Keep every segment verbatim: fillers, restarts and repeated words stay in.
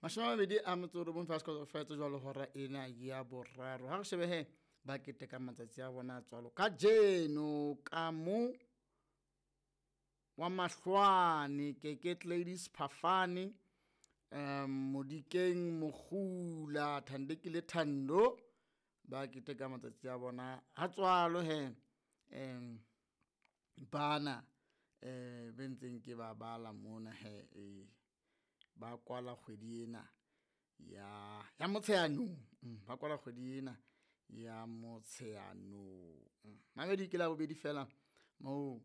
Mashome a mabedi a metso e robong fela se jwalo hora ena ya boraro. Ha re shebe he ba keteka matsatsi a bona a tswalo kajeno ka mo wa mahlwane Keke Ladies Phafane um Modikeng Mokgula Thandekile Thando ba keteka matsatsi a bona a tswalo he um bana um be ntseng ke ba bala mona he eh ba kwala kgwedi ena ya ya Motsheanong mm, ba kwala kgwedi ena ya Motsheanong. Mamedi ke la bobedi fela moo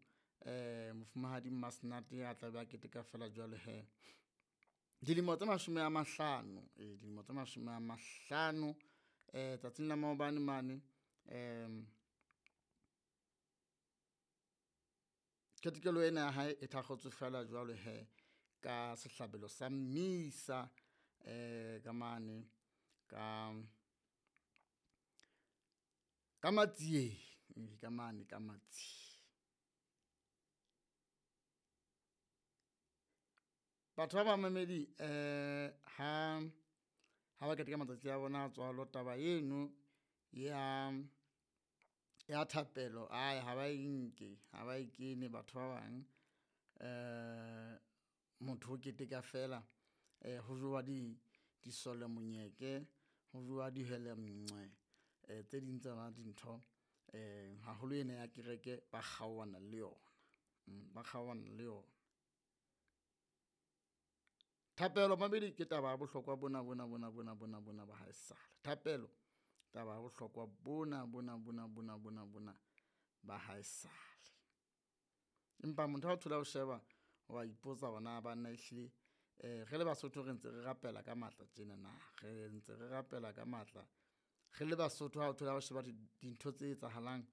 eh mofumahadi Mmasenate a tla be a keteka fela jwalo he dilemo tse mashome a mahlano eh dilemo tse mashome a mahlano eh tsatsing la maobane mane um ketekelo ena ya hae e thakgotswe fela jwalo he ka sehlabelo sa mmisa eh ka mane ka ka Matsieng ka mane ka Matsieng. Batho ba bamamedi eh ha ha ba keteka matsatsi a bona a tswalo taba eno ya ya thapelo ai ha ba e nke ha ba e kene batho ba bang eh motho o keteka fela eh ho jowa di disole monyeke ho jowa dihele nngwe eh tse ding tsa dintho eh haholo ena ya kereke ba kgaohana le yona ba kgaohana le yona. Thapelo mamedi ke taba ya bohlokwa bona bona bona bona bona bona ba haesale. Thapelo taba ya bohlokwa bona bona bona bona bona bona ba haesale. Empa motho ha o thola o sheba wa ipotsa hore na banna ehlile eh re le Basotho re ntse re rapela ka matla tjena na re ntse re rapela ka matla re le Basotho ha o thola o sheba dintho tse etsahalang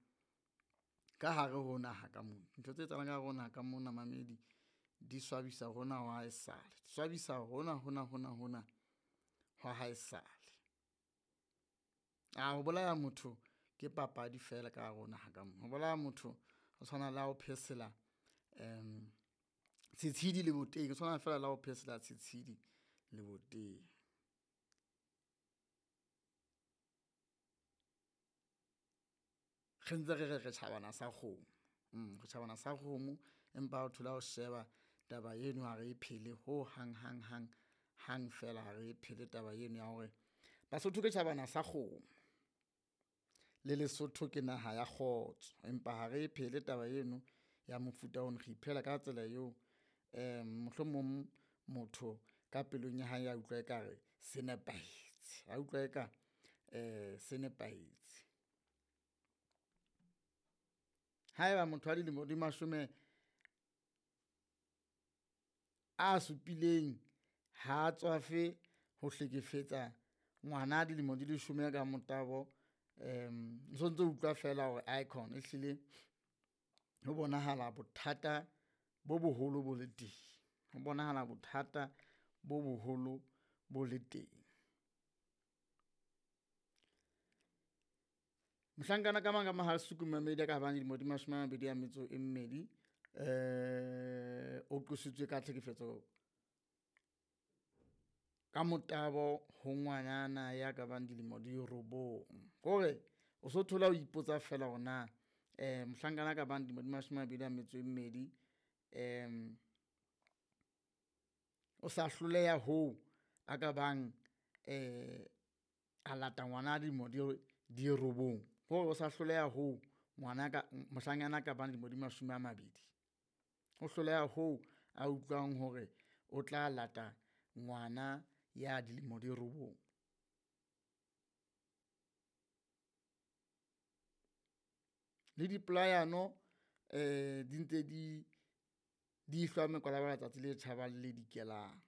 ka hare ho naha ka mona ntho tse etsahalang ka hare ho naha ka mona mamedi di swabisa hona ho haesale swabisa hona hona hona hona hwa haesale. A ho bolaya motho ke papadi fela ka hare ho naha ka mona ho bolaya motho ho tshwana le ha o phesela um setshedi leboteng ho tshwana fela le ha o phesela setshedi leboteng. Re ntse re re re tjhabana sa kgomo mm re tjhabana sa kgomo empa o thola o sheba taba eno ha re e phele ho hang hang hang hang fela ha re e phele taba eno ya hore Basotho ke tjhabana sa kgomo le Lesotho ke naha ya kgotso empa ha re e phele taba eno ya mofuta ono re iphela ka tsela eo um mohlomong motho ka pelong ya hae ya utlwa ekare se nepahetse a utlwa eka um se nepahetse. Haeba motho wa dilemo di mashome a supileng ha tswafe ho hlekefetsa ngwana dilemo di leshome ka motabo um o sontso utlwa fela hore icon ehlile ho bonahala bothata bo boholo bo le teng ho bonahala bothata bo boholo bo le teng. Mohlankana ka mang ka Mohale'Soku mamedi a ka bang dilemo di mashome a mabedi a metso e mmedi eh o qositswe ka tlhekefetso ka motabo ho ngwanana ya ka bang dilemo di robong kore o so thola o ipotsa fela hore na eh mohlankana ka bang dilemo di mashome a mabedi a metso e mmedi um o sa hloleha hoo a ka bang eh a lata ngwana dilemo di di robong hore o sa hloleha hoo ngwana ka mohlanyana ka bang dilemo di mashome a mabedi o hloleha hoo a utlwang hore o tla lata ngwana ya dilemo di robong. Le dipolayano eh di ntse di di hlwa mekwalabala tsatsi le tjhabang le dikelang.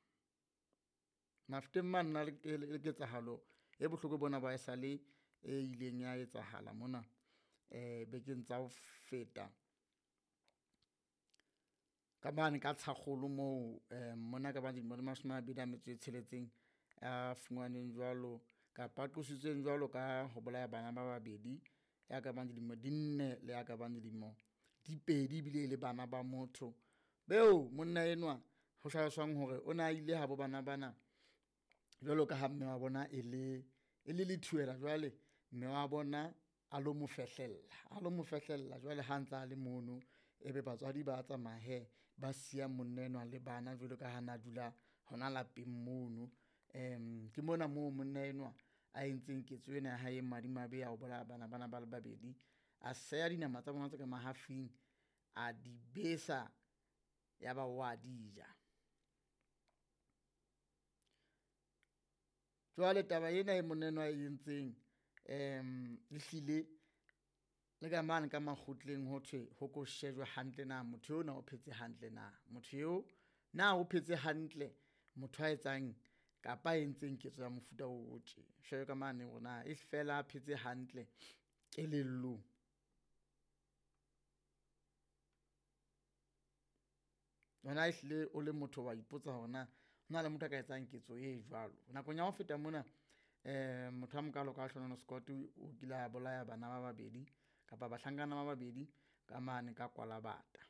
Mafeteng mane na le ketsahalo e bohloko bona ba esale e ileng ya etsahala mona eh bekeng tsa ho feta ka mane ka Tshakgolo moo eh mona ka bang dilemo di mashome a mabedi a metso e tsheletseng a fumanweng jwalo kapa a qositsweng jwalo ka ho bolaya bana ba babedi ya ka bang dilemo di nne le ya ka bang dilemo di pedi ebile e le bana ba motho beo monna enwa ho hlaloswang hore o ne a ile habo bana bana. Jwalo ka ha mme wa bona e le e le lethuela jwale mme wa bona a lo mo fehlella, a lo mo fehlella jwale ha ntsa a le mono ebe batswadi ba tsamaya hee ba siya monna enwa le bana jwalo ka ha na dula hona lapeng mono. Um ke mona moo monna enwa a entseng ketso ena ya hae e madimabe ya ho bolaya bana bana ba le babedi. A seha dinama tsa bona tse ka mahafing, a di besa ya ba wa di ja. Jwale taba ena e monna enwa a e entseng um ehlile le ka mane ka makgotleng ho thwe ho ko shejwe hantle na motho eo na o phetse hantle na. Motho eo na o phetse hantle motho a etsang kapa a entseng ketso ya mofuta o tje. Shejwe ka mane hore na e fela a phetse hantle kelellong. Wena ehlile o le motho wa ipotsa hore na hona le motho a ka etsang ketso e jwalo. Nakong ya ho feta mona um motho a mokalo ka Hlohonolofatso Scott o kile a bolaya bana ba babedi kapa bahlankana ba babedi ka mane ka Kwalabata.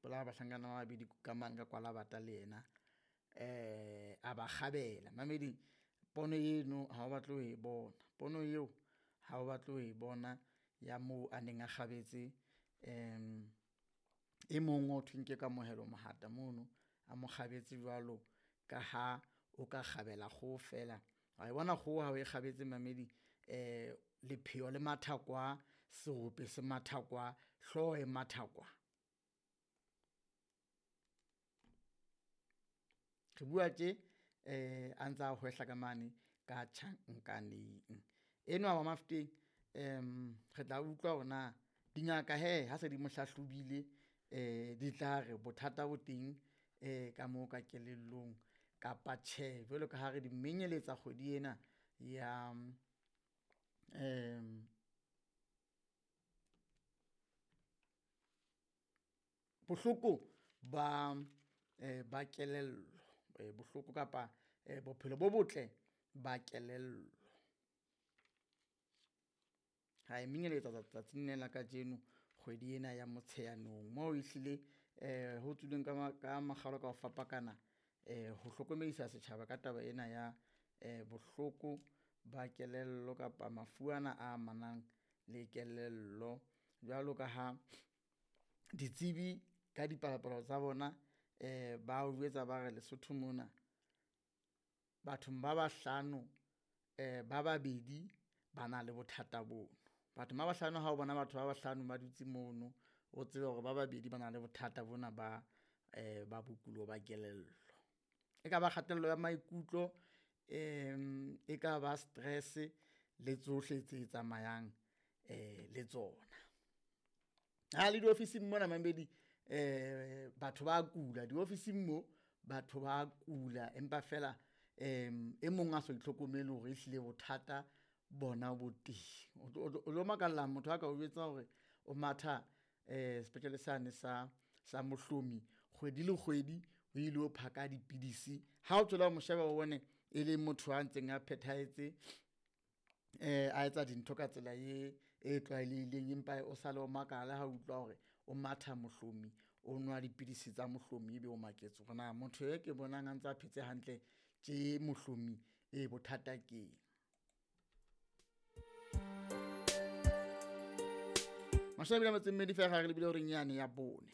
Bolaya bahlankana ba babedi ka mane ka Kwalabata le yena um a ba kgabela. Mamedi pono eno ha o batle ho e bona, pono eo ha o batle ho e bona ya moo a neng a kgabetse um e mong ho thweng ke Kamohelo Mohata mono a mo kgabetse jwalo ka ha o ka kgabela kgoho fela. Wa e bona kgoho ha o e kgabetse mamedi um lepheo le matha kwa, serope se matha kwa, hlooho e matha kwa. Re bua tje um a ntsa hwehla ka mane ka tjhankaneng. Enwa wa Mafeteng um re tla utlwa hore na dingaka hee ha se di mo hlahlobile um di tla re bothata bo teng um ka moo ka kelellong kapa tjhe. Jwalo ka ha re di menyeletsa kgwedi ena ya um bohloko ba um ba kelello, bohloko kapa bophelo bo botle ba kelello. Ra e menyeletsa tsatsing lena la kajeno kgwedi ena ya Motsheanong moo ehlile um ho tswileng ka ka makgalo ka ho fapakana um ho hlokomedisa setjhaba ka taba ena ya um bohloko ba kelello kapa mafu ana a amanang le kelello. Jwalo ka ha ditsebi ka dipalopalo tsa bona um ba o jwetsa ba re Lesotho mona bathong ba bahlano um ba babedi ba na le bothata bono. Bathong ba bahlano ha o bona batho ba bahlano ba dutse mono, o tsebe hore ba babedi ba na le bothata bona ba um ba bokulo ba kelello. E ka ba kgatello ya maikutlo um e ka ba stress le tsohle tse tsamayang um le tsona. Ha le diofising mona mamedi um batho ba kula diofising mo, batho ba kula empa feela um e mong a sa itlhokomele hore ehlile bothata bona bo teng. O tlo makalla motho a ka o jwetsa hore o matha um sepetlele sane sa sa Mohlomi kgwedi le kgwedi o ilo phaka dipidisi. Ha o tswela ho mo sheba o bone e le motho a ntseng a phethahetse um a etsa dintho ka tsela e e tlwaelehileng, empa o sale o makala ha o utlwa hore o matha Mohlomi, o nwa dipidisi tsa Mohlomi ebe o maketse hore na motho e ke bonang a ntse a phetse hantle tje Mohlomi e bothata keng. Mashome a mabedi a metso e mmedi feela re lebile horeng yane ya bone.